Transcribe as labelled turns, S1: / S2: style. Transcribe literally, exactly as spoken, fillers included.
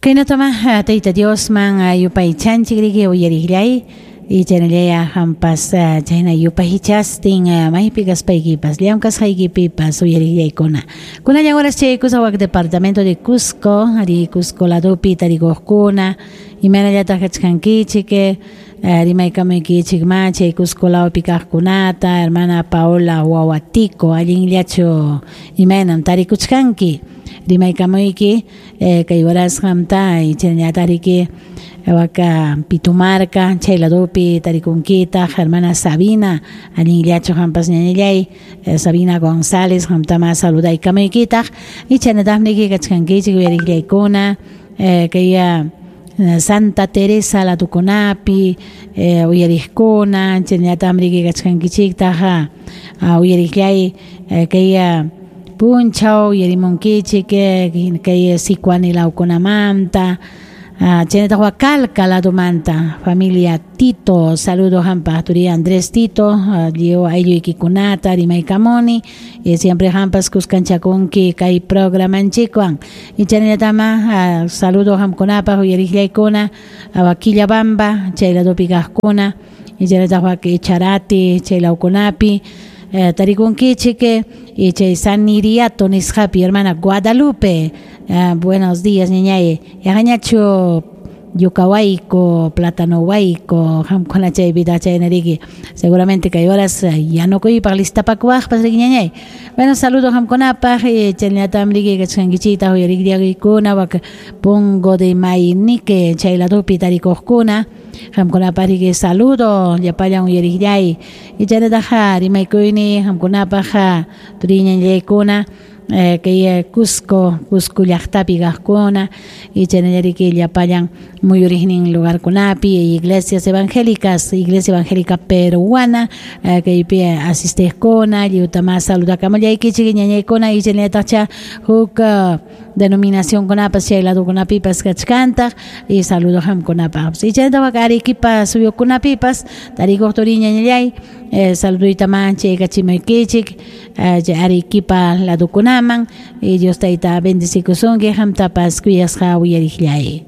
S1: Kaynatama Tayta Diosman yupaychanchik riki uyariqllay y chaynallaya hampas chayna yupaychastin maypi kaspaykipas llamkasqaykipipas uyariqllaykuna. Kunallan horas chaykusaq wak departamento de Cusco, ari Cusco ladopi tarikuqkuna, imaynallataq kachkankichik, rimaykamuykichik ma chay Cusco lawpi kaqkunata, hermana Paola Wawatico, allinllachu imaynam tarikuchkanki. Rimaykamuyki kay horas qamta y chaynallataq waka Pitumarca, chay ladopi tarikunkitaq, hermana Sabina, allinllachu qampas ñañallay, Sabina González, qamtama saludaykamuykitaq y chaynataqmi kachkankichik uyariqllaykuna, kay Santa Teresa ladukunapi uyariqkuna, chaynataqmi kachkankichiktaq uyariqllay kay punchaw uyarimunkichik kay Sicuani lawkunamanta, chaynataq Huacalca ladumanta, familia Tito, saludo hampa turi Andrés Tito, lliw aylluykikunata rimaykamuni, y siempre hampas kuskanchakunki kay programanchikwan y chaynallatama saludo hamkunapaq uyariqllaykuna Quillabamba chay ladupi kaqkuna y chaynataq wak Echarati chay lawkunapi tarikunkichik y chay San Iriato nisqapi hermana Guadalupe, buenos días ñañay, yaqañachu yucawayku, plátano wayku, hamkuna chaypi chaynariki, seguramente kay horas yanukuypaq listapakuwaqpas riki ñañay. Bueno, saludo hamkunapaq y chaynatam riki kachkankichikta uyariqllaykuna wak Pongo de Mainique chay ladupi tarikuqkuna, hamkunapaq riki saludo llapallan uyariqllay y chaynataqa rimaykuyni hamkunapaq turiñañaykuna kay Cusco, Cusco llaqtapi kaqkuna y chaynallariki llapallan muyuriqnin lugarkunapi iglesias evangélicas, iglesia evangélica peruana kaypi asistiqkuna lliwtama saludakamullaykichik ñañaykuna y chaynallataqcha huk denominacionkunapas chay ladukunapipas kachkantaq y saludo hamkunapaqpas y chaynataq Arequipa suyukunapipas tarikuq turiñañallay saluduytama chaykachimuykichik Arequipa ladukunaman y Dios tayta bendecikusunki hamtapas kuyasqa uyariqllay.